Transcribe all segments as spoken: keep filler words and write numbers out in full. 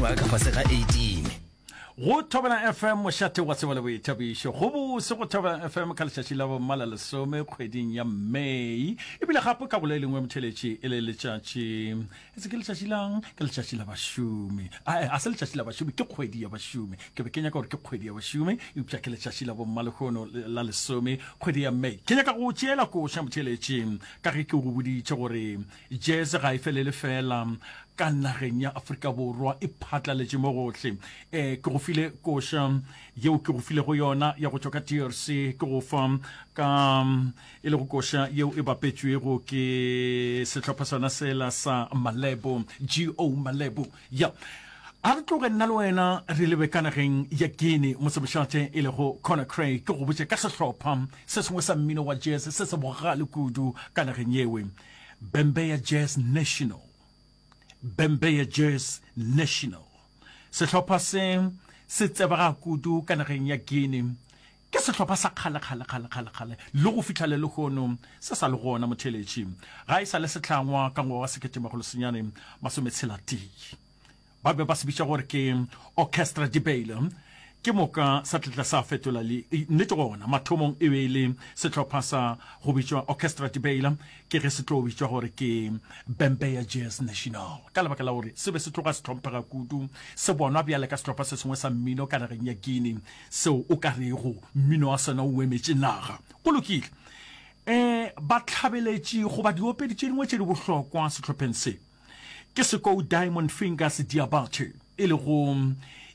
mengwaga ka fase ga eighteen. Go Thobela F M, mošate wa tsebo le boithabišo. Go bose go Thobela F M ka letšatši la bomma la lesome kgweding ya May. Ebile gape ka go le lengwe, motheletši, e le letšatši, etse ke letšatši lang? Ke letšatši la bašomi. Ae, a se letšatši la bašomi, ke kgwedi ya bašomi. Ke be ke nyaka gore ke kgwedi ya bašomi, eupša ke letšatši la bomma lehono la lesome kgwedi ya May. Ke nyaka go tšeela koša, motheletši, ka ge ke go boditše gore jazz ga e felele fela ka nageng ya Afrika Borwa, e phatlaletše mo gohle. um ke go file koša yeo ke go filego yona ya go tšwa ka D R C, ke go fa ka e le go koša yeo e bapetšwego ke sehlopha sona sela sa Malebo, Go Malebo ya. A re tloge nna le wena re lebe ka nageng ya Guinea, motsemošate e lego Conakry, ke go botše ka sehlopha se sengwe sa mmino wa jazz se se bogale kudu ka nageng yewe, Bembeya Jazz National. Bembeya Jazz National, sehlopha se se tsebega kudu ka nageng ya Guinea. Ke sehlopha sa kgale kgale kgale kgale kgale, le go fihla le lehono se sa le gona, motheletši. Ga e sa le sehlangwa ka ngwaga wa sekete makgolo senyane masometshela tee. Ba be ba se bitša gore ke Orchestra de Bale, ke moka sa tletla sa fetola le nnete. Gona mathomong e be e le sehlopha sa go bitšwa Orchestra de Bale, ke ge se tlo bitšwa gore ke Bembeya Jazz National, ka lebaka la gore se be se tloga se hlomphega kudu, se bonwa bjale ka sehlopha se sengwe sa mmino ka nageng ya Guinea seo o ka rego mmino wa sona o emetše naga. Go lokile. um batlhabeletši goba diopedi tše dingwe tše di bohlokwa sehlopheng se ke Sekou Diamond Fingers Diabate, e lego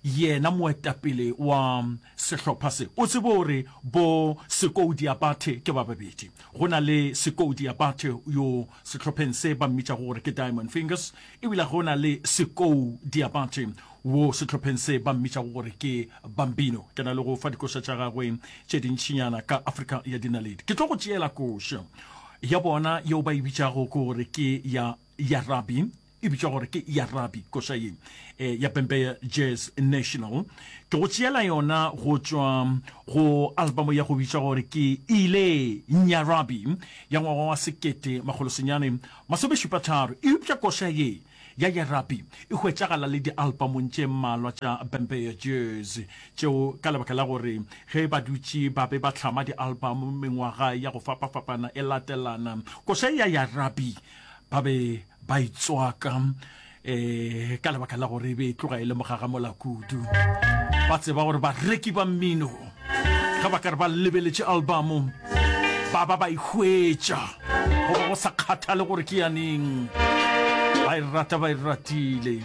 yena moetapele wa sehlopha se. O tsebe gore bo Sekou Diabate ke ba babedi. Go na le Sekou Diabate yo sehlopheng se ba mmitšago gore ke Diamond Fingers, ebile go na le Sekou Diabate wo sehlopheng se ba mmitšago gore ke Bambino. Ke na le go fa dikoša tša gagwe tše dintšinyana ka Afrika ya Dinaledi. Ke tlo go tšeela koša ya bona yeo ba e bitšago ke gore ke ya Yarabi, e bitšwa gore ke Yarabi. Koša ye e, ya Bembeya Jazz National ke go tšeela yona go tšwa go album ya go bitšwa gore ke Ile Nyarabi ya ngwaga wa sekete makgolo senyane masomešupa tharo. Eupša koša ye ya Yarabi e hwetšagala le di-albumong tše mmalwa tša Bembeya Jazz tšeo, ka lebaka la gore ge ba dutše ba be ba hlama di-album mengwaga ya go fapafapana e latelana, koša ya Yarabi ba be ba itswaka um ka lebaka la gore e be e tloga e le mogagamola kudu. Ba tseba gore bareki ba mmino ge ba ka re ba lebeletše album, ba ba ba e hwetša, goba go sa kgathale gore ke yaneng, ba e rata, ba e ratile.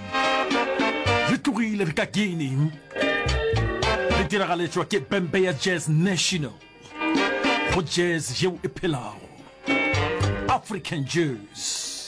Re tlogile re ka Guinea, re diragaletšwa ke Bembeya Jazz National go jazz yeo e phelago, African jazz.